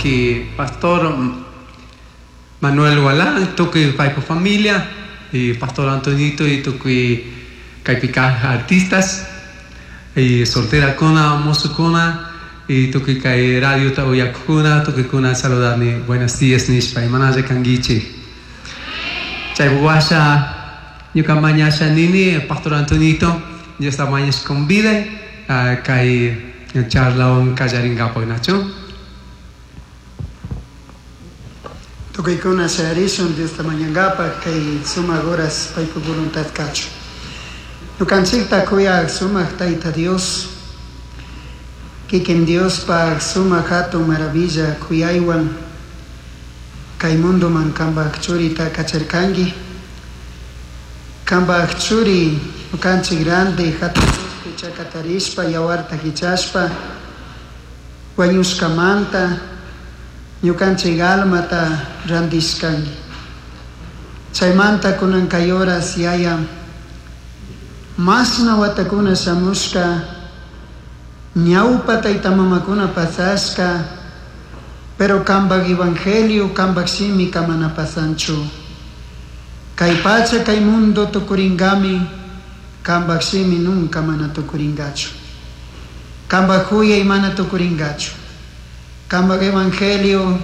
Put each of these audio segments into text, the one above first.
Uki Pastor Manuel Gualán, tukuy paypa familia y Pastor Antonito y tukuy kaypi kaq artistas y solterakuna, mozokuna y tukuy kay radiota uyakukuna, tukuykuna saludani buenos días nishpa, imanalla kanguichik. Chay washa ñuka mañasha nini Pastor Antonito, Diosta mañash convide kay charlawan kallarinkapak, nachu? Tukuykuna shayarishun Diosta mañankapak kay sumak horas paypa voluntad kachun. Ñukanchikta kuyaq sumak Tayta Dios, kikin Diospaq sumak hatun maravilla kuyaywan kay mundoman kanpak churita kacharkanki. Kanpak churi ñukanchik grande hatun cruzpi chakatarishpa yawarta hichashpa wañushkamanta ñukanchik almata randishkanki. Chaymanta kunan kay horas yaya mashna watakuna shamushka ñawpa tayta mamakuna pasashka, pero kanpak evangelio kanpak shimi kamana pasanchu. Kay pacha kay mundo tukuringami, kanpak shimi nunca mana tukuringachu. Kanpak huyay mana tukuringachu. Kanpak evangelio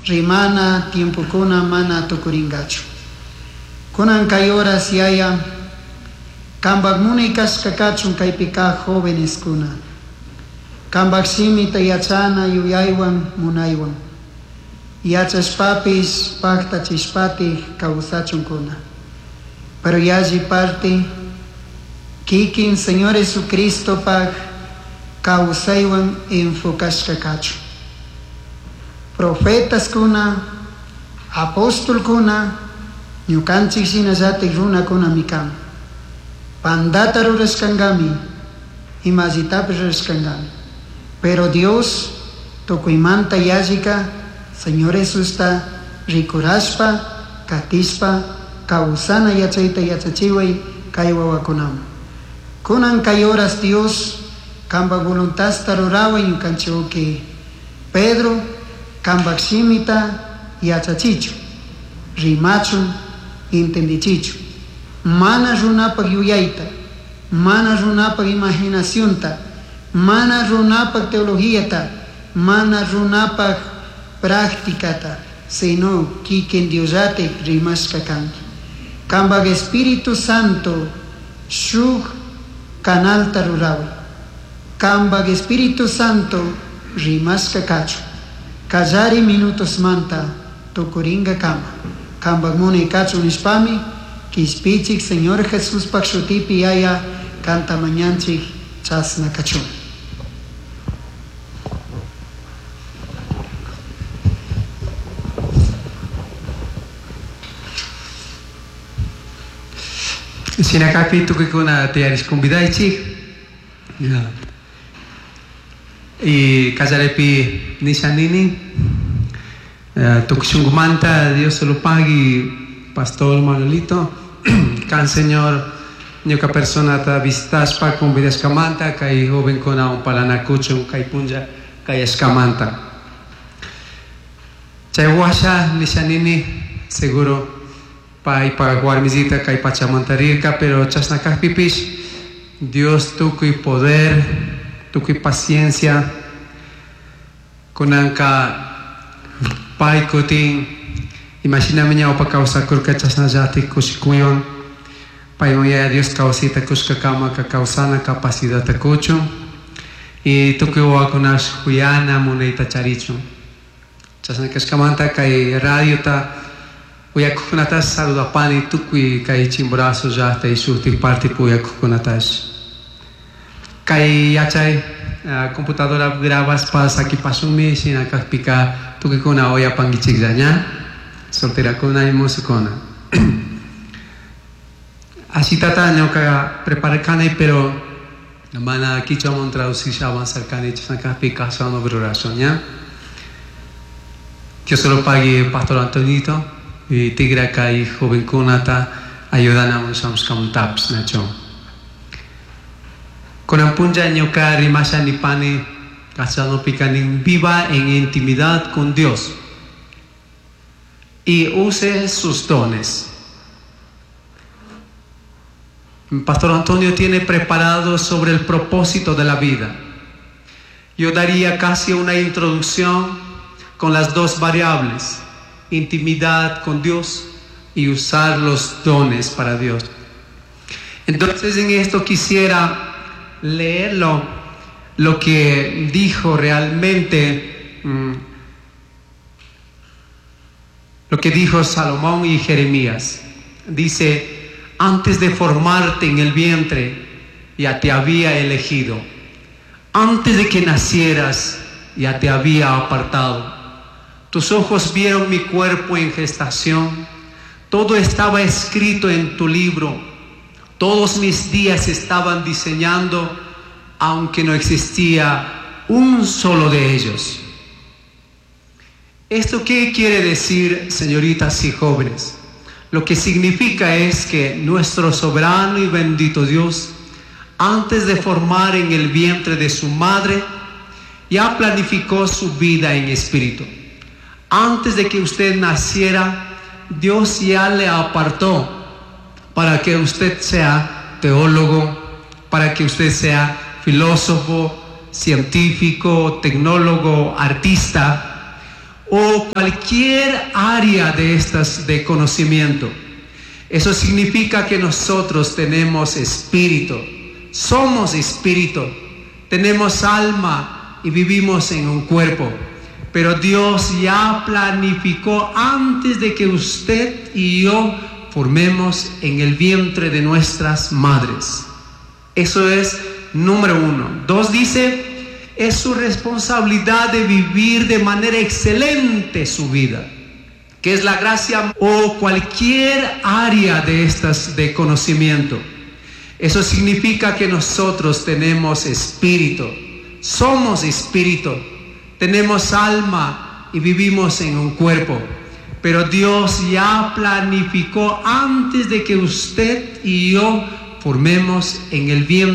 rimana tiempokuna mana tukuringachu. Kunan kay horas yaya kanpak munay kashka kachun kaypi kaq joveneskuna. Kanpak shimita yachana yuyaywan munaywan. Yachashpapis paktachishpatik kawsachunkuna. Pero yalli parte kikin Señor Jesucristopak kawsaywan enfocashka kachun. Profetaskuna, apostolkuna, ñukanchik shinallatik runakunami kan. Pandata rurashkankami, imallitapish rurashkankami. Pero Dios tukuymanta yallika Señor Jesusta rikurashpa, katishpa, kawsana yachayta yachachiway kay wawakunaman. Kunan kay horas Dios kanpak voluntadta ruraway ñukanchik uki Pedro kanpak shimita yachachichun, rimachun, entendichichun. Mana runapak yuyayta, mana runapak imaginacionta, mana runapak teologíata, mana runapak prácticata, sino kikin Diosllatik rimashka kanki. Kanpak Espíritu Santo shuk canalta ruraway. Kanpak Espíritu Santo rimashka kachun. Kallari minutosmanta tukuringakama. Kanpak munay kachun nishpami kishpichik Señor Jesuspak shutipi yaya kanta mañanchik chasna kachun. Shinakakpi tukuykuna tiyarish convidaychik. Y kallaripi nisha nini, tukuy shunkumanta Dios se lo pague, Pastor Manuelito, kan Señor ñuka personata visitashpa convidashkamanta kay jovenkuna unpalanakuchun kay punlla kayashkamanta. Chay washa nisha nini, seguro paypa warmisita kay pachamanta rirka, pero chashna kajpipish Dios tukuy poder, tukuy paciencia, kunanka pay kutin, imaginami ñawpa kawsakurka chashnallatik kushikuywan, paywan Yaya Dios kawsayta kushkakamaka kawsana capacidadta kuchun, y tukuy wawakunash huyana munayta charichun. Chashna kashkamanta kay radiota uyakuqkunatash saludapani tukuy kay Chimborazo llaqta y shuktik partipi uyakuqkunatash. Kay yachay computadora grabaspa sakipashunmi, shina kajpika tukuykuna uyapankichiklla ña, solterakuna y mozokuna. Ashitata ñuka prepararkani, pero mana kichwaman traducisha avanzarkani, chashna kajpika ashawan rurashun ña. Dios se lo pague Pastor Antonito y tigraka y jovenkunata ayudanamun shamushkamuntapish nachu. Kunan punlla ñuka rimasha nipani Castellanopica nin viva en intimidad con Dios y use sus dones. Pastor Antonio tiene preparado sobre el propósito de la vida. Yo daría casi una introducción con las dos variables, intimidad con Dios y usar los dones para Dios. Entonces en esto quisiera leerlo, lo que dijo realmente, lo que dijo Salomón y Jeremías. Dice: antes de formarte en el vientre, ya te había elegido. Antes de que nacieras, ya te había apartado. Tus ojos vieron mi cuerpo en gestación. Todo estaba escrito en tu libro. Todos mis días estaban diseñando, aunque no existía un solo de ellos. ¿Esto qué quiere decir, señoritas y jóvenes? Lo que significa es que nuestro soberano y bendito Dios, antes de formar en el vientre de su madre, ya planificó su vida en espíritu. Antes de que usted naciera, Dios ya le apartó para que usted sea teólogo, para que usted sea filósofo, científico, tecnólogo, artista o cualquier área de estas de conocimiento. Eso significa que nosotros tenemos espíritu, somos espíritu, tenemos alma y vivimos en un cuerpo. Pero Dios ya planificó antes de que usted y yo formemos en el vientre de nuestras madres. Eso es número uno. 2 dice, es su responsabilidad de vivir de manera excelente su vida, que es la gracia o cualquier área de estas de conocimiento. Eso significa que nosotros tenemos espíritu, somos espíritu, tenemos alma y vivimos en un cuerpo. Pero Dios ya planificó antes de que usted y yo formemos en el vientre.